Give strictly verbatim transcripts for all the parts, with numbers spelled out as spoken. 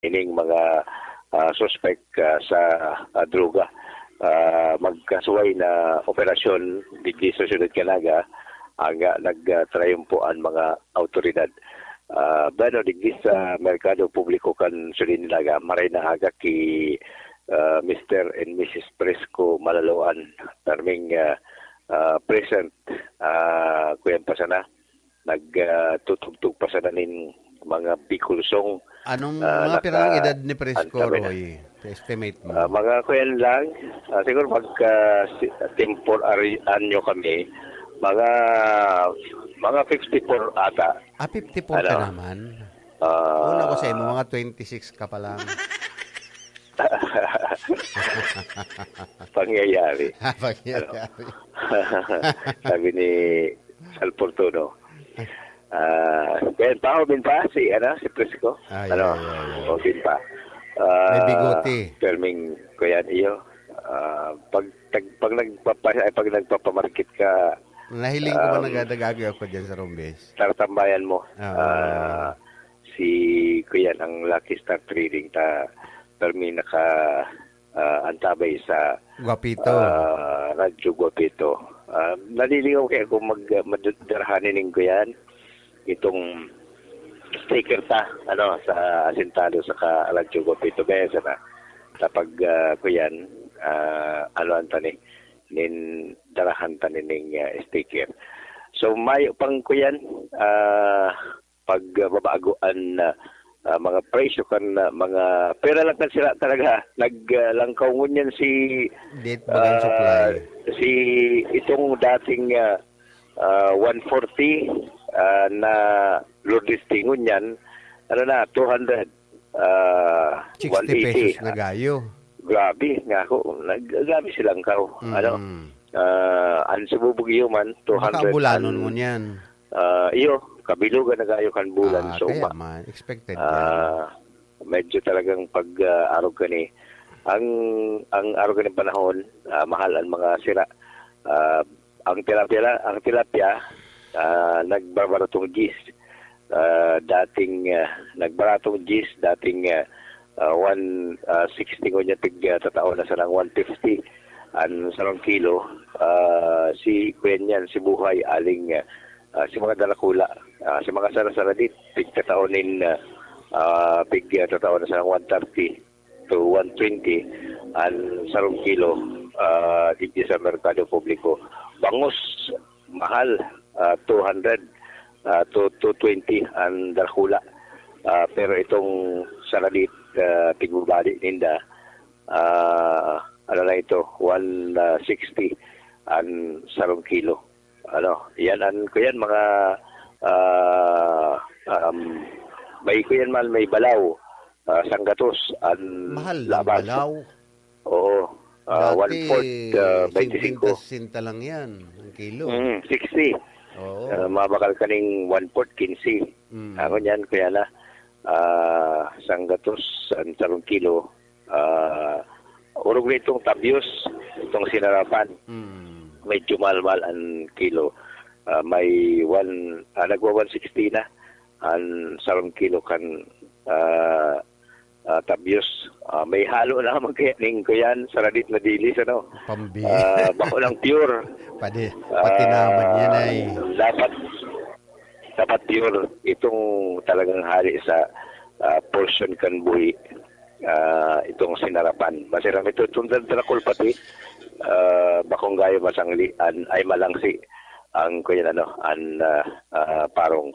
ining mga, ah, suspek, ah, sa, ah, droga. Ah, magkasuway na operasyon digdi sa siyudad kan Naga, ang, ah, nagtrayumpo an mga awtoridad. Ah, bueno, digdi sa merkado publiko kan siyudad nin Naga, maray na aga ki, ah, Mister and Missus Fresco Malaloan, perming, ah, ah, present, ah, kuyan pa sana, nag, ah, tutugtog pa sana nin mga Bicol song. Anong Ah, mga pirang naka-, edad ni Fresco, antabi na. Roy? Estimate mo? Ah, mga kuyan lang, ah, siguro pagka si, temporary anyo kami, mga, mga fifty-four ata. Ah, fifty-four ka Ano? naman? Ah. Una ko sa imo, mga twenty-six ka pa lang. Pangyayari. Ah, pangyayari. Ano? Sabi ni Sal Fortuno. Ah, kaya pa, Obin pa, si, ano, si Prisco. Ay, Ano? ay, ay, ay. Obin pa. May Ah, bigote. Perming, kuyan iyo. Ah, pag, tag-, pag nagpapa-, ay, pag nagpapamarket ka, Nahiling ko ba um, nagadagagi ako dyan sa Rombes? Tatambayan mo. Ah. Ah, si kuyan ang Lucky Star Trading ta, permi naka, ah, antabay sa, Guapito. ah, Radyo Guapito. Ah, nalilingaw kaya kung mag-, madarahanin ning kuyan, itong sticker ta, ano, sa asintado sa ka-, Radyo Guapito. Kaya sana, kapag, ah, kuyan, ah, ano ang tani, nin darahan ta nining, ah, sticker. So, mayo pang kuyan, ah, pagbabago an, ah, ah, mga presyo kan, ah, mga pera lang kan sila talaga. Nag, ah, langkaw ngunyan si, Date bagang ah, supply. si itong dating, ah, ah, one forty, ah, na Lourdes Tingon yan, ano na, two hundred, ah, Sixty one eighty. pesos na gayo. Grabe, nga ako, nag-, grabe silang kao, Mm. ano? Ah, ang Cebu Baguio man, Baka two hundred bulanon an, mo niyan. ah, iyo, kabilugan na gayo kan bulan Ah, sa kaya uma. man, expected Ah, yan. medyo talagang pag, ah, arog ka ni, ang, ang arog ka ni panahon, ah, mahal ang mga sira. Ah, ang tilapia la-, ang tilapia, ah, nagbabaratong diyes. Ah, dating, ah, nagbaratong diyes, dating, ah, ah, one, ah, sixty ngunyan pig, ah, tatao na sanang one fifty an sarong kilo. Ah, si kuyan yan, si Buhay, aling, ah, ah, si mga darakula, ah, si mga sarasaradit, pig tatao nin, ah, ah, pig, ah, tatao na sanang one thirty to one twenty an sarong kilo, ah, digdi sa merkado publiko. Bangus, mahal, ah, two hundred, ah, to two twenty an darakula. Ah, pero itong saradit, ah, tigbabali ninda, ah, ano na ito, one sixty an sarong kilo. Ano, yan an, kuyan, mga, ah, um, may kuyan man, may balaw, ah, sanggatos an Mahal ng labas. balaw. Oo. Ah, Dati, one-fourth, ah, twenty-five. singkwenta, sesenta lang yan, ang kilo. Mm, sixty. Oo. Ah, mabakal kaning one-fourth, quince. Mm. Ako niyan, kuya na, ah, sanggatos, ang sarong kilo, ah, orog na itong tabyos, itong sinarapan. Mm. Medyo mahal-mahal ang kilo. Ah, may one, ah, nagwa one sixty na ang sarong kilo kan, ah, ah, tabyos. Ah, may halo naman kaya ning kuyan, saradit na dilis, ano? Pambi-, Ah, bako ng pure. Pati, pati Ah, naman yan ay. dapat, dapat pure itong talagang hali sa, ah, portion kan buhi. Ah, itong sinarapan. Masiram ito, itong dal-, darakul pati, ah, bakong gayo masangli, an, ay malangsi ang kuyan, ano, an, ah, ah, parong,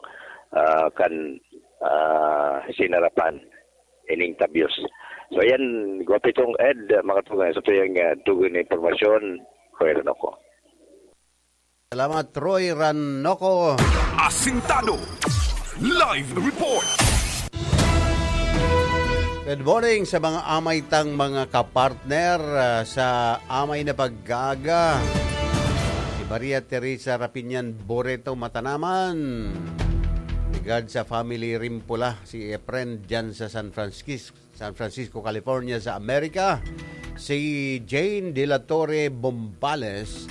ah, kan, ah, sinarapan. Ining tabyos. So, ayan, Guapitong Ed, mga tugang, sa tuyang, ah, tugon na impormasyon, Kuya Ranoco. Salamat, Roy Ranoco. Asintado. Live report. Good morning sa mga amay tang mga kapartner, ah, sa amay na pag-aaga. Si Maria Teresa Rapinian Boreto Matanaman. Ligad sa family Rimpola, si Efren dyan sa San Francisco, San Francisco, California, sa Amerika. Si Jane de la Torre Bombales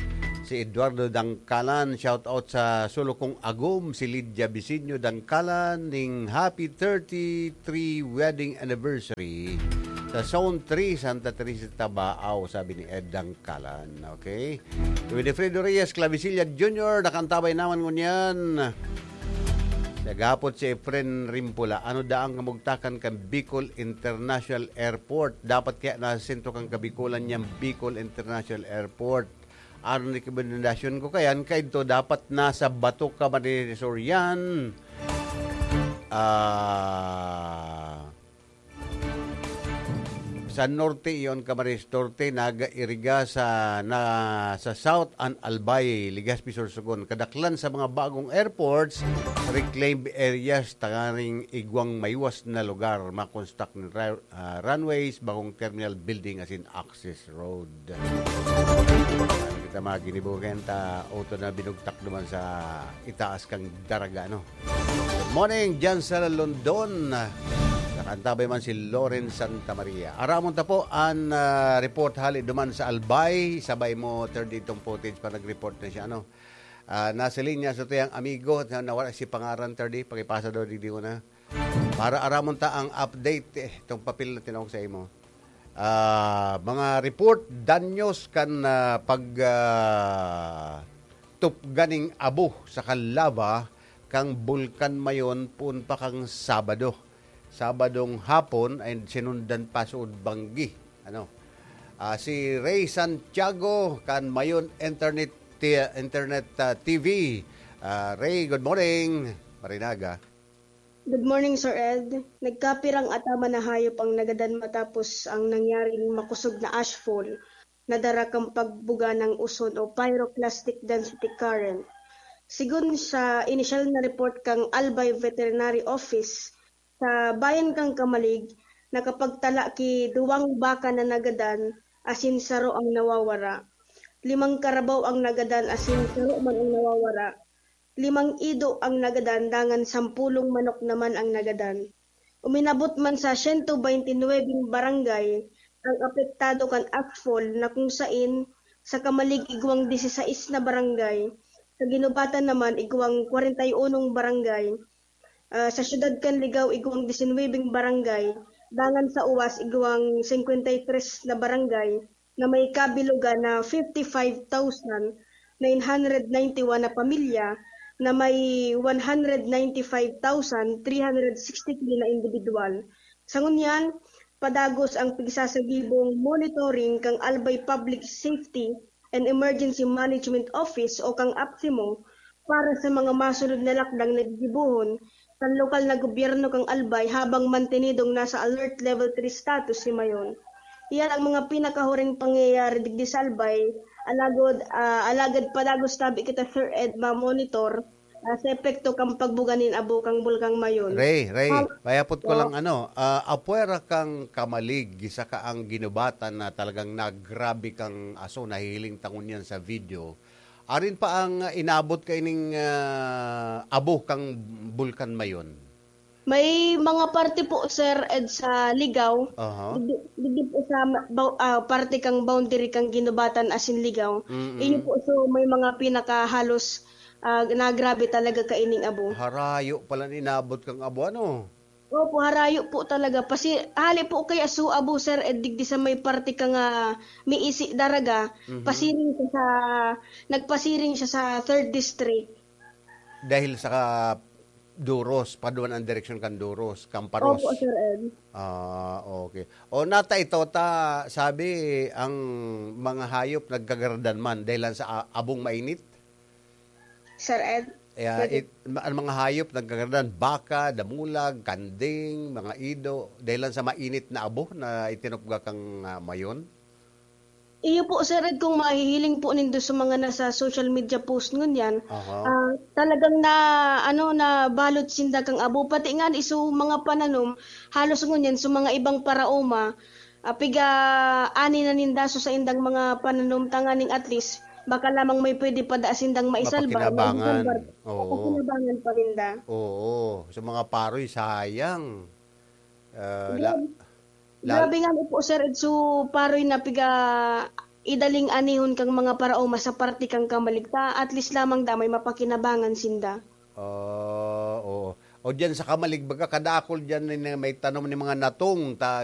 Si Eduardo Dangkalan, shout out sa sulo kong agom, si Lydia Bisinyo Dangkalan, ning happy thirty-three wedding anniversary sa Zone three, Santa Teresa, Tabaao, sabi ni Ed Dangkalan. Okay? Winifredo Reyes Clavicilla Junior, nakantabay naman ngunyan. Naghapot si Efren Rimpula, ano daang kamugtakan kan Bicol International Airport? Dapat kaya nasa sentro kan Kabikolan niyang Bicol International Airport. Ang rekomendasyon ko kayan, kaidto dapat nasa bato ka man ni Sorian. Ah, sa norte, iyon, Camarines Norte, nag-iriga sa, na, sa South an Albay, Legazpi, Sorsogon. Kadaklan sa mga bagong airports, reclaimed areas, tanganing igwang maiwas na lugar, makonstruct ng ra-, ah, runways, bagong terminal building, asin access road. Kita mga ginibugan ta, auto na binugtak naman sa itaas kang daraga, no? Good morning, dyan sa London. Nakantabay man si Loren Santa Maria. Aramon ta po an, ah, report hali duman sa Albay. Sabay mo, third, itong footage pa nag-report na siya, ano? Ah, nasa linya sa tuyang amigo na nawala si pangaran, third, pakipasa daw, digdi ko na. Para aramon ta ang update, eh, itong papel na tinawag sa imo. Ah, mga report, danyos kan, ah, pag, ah, tupga ning abo saka lava kang Bulkan Mayon poon pa kang Sabado. Sabadong hapon ay sinundan pa suod banggi. Ano? Ah, si Ray Santiago kan Mayon Internet T-, Internet, ah, T V. Ah, Ray, good morning. Marinaga. Good morning, Sir Ed. Nagkapirang ataman na hayop ang nagadan matapos ang nangyaring makosog na ashfall na dara kan pagbuga ng uson o pyroclastic density current. Sigon sa inisyal na report kan Albay Veterinary Office, sa bayan kan Camalig, nakapagtala ki duwang baka na nagadan asin saro ang nawawara. Limang karabaw ang nagadan asin saro man ang nawawara. Limang ido ang nagadan dangan sampolong manok naman ang nagadan. Uminabot man sa siyento baynte nuwebeng barangay ang apektado kan ashfall na kung sain sa Camalig igwang disisais na barangay, sa Guinobatan naman igwang kwarenta y unong barangay, ah, sa siyudad kan Ligao igwang disinwebeng barangay, dangan sa Uwas igwang singkwenta y tres na barangay na may kabilogan na fifty-five thousand nine hundred ninety-one na pamilya na may one hundred ninety-five thousand three hundred sixty-three na indibidwal. Sa ngunyan, padagos ang pigsasagibong monitoring kan Albay Public Safety and Emergency Management Office o kan APSEMO para sa mga masunod na lakdang na gigibohon kan lokal na gobyerno kan Albay habang mantenidong nasa Alert Level three status si Mayon. Iyan ang mga pinakahuring pangyayari digdi sa Albay, alagod, ah, alagad padagos tabi kita, Sir Ed, ma-monitor, ah, sa epekto kan pagbuga nin abo kan Bulkan Mayon. Ray, Ray, Ah, payapot ko po. lang ano, ah, apwera kang Camalig, saka ang Guinobatan na talagang nagrabe kang aso, nahihiling ta ngunyan sa video. Arin pa ang inabot kaining, ah, abo kang Bulkan Mayon? May mga parte po, Sir Ed, sa Ligao. Aha. Digdi, digdi po sa ma-, bau-, ah, parte kang boundary kang Guinobatan asin Ligao. Mm-mm. Iyo po, so may mga pinakahalos, ah, nagrabe talaga kaining abo. Harayo pala inabot kang abo, ano? Opo, harayo po talaga. Pasi-, hali po kaya su abo, Sir Ed, digdi sa may parte kang, ah, Miisi, Daraga, Mhm. pasiring siya sa, nagpasiring siya sa third district. Dahil sa Duros, paduman ang direksyon kan Duros, Camparos. Opo, Sir Ed. Ah, okay. O, nata ito, ta, sabi, ang mga hayop nagkagaradan man dahil lang sa a-, abong mainit? Sir Ed, Yeah, pwede it, ma-, ang mga hayop nagkagaradan, baka, damulag, kanding, mga ido, dahil lang sa mainit na abo na itinupga kang, ah, Mayon? Iyo po, Sir Ed, kung mahihiling po nindo sa mga nasa social media post ngunyan, Aha. ah, talagang na, ano, nabalot sinda kang abo. Pati nga iso mga pananom, halos ngunyan sa mga ibang paraoma, ah, piga-ani na ninda so saindang mga pananom tanganing at least, baka lamang may pwede pa da sindang maisalba o Mapakinabangan. maisalbar. Oo. Mapakinabangan pa ninda. Oo. Sa mga paroy, sayang. Ah, la-, Grabe. la- Grabe nga po, Sir Ed. So, paroy na piga-, idaling anihon kang mga paraoma sa parte kan kamalig ta at least lamang damay mapakinabangan sinda. Ah, oo. O diyan sa kamalig, baga kadakol diyan na may tanom ni mga natong ta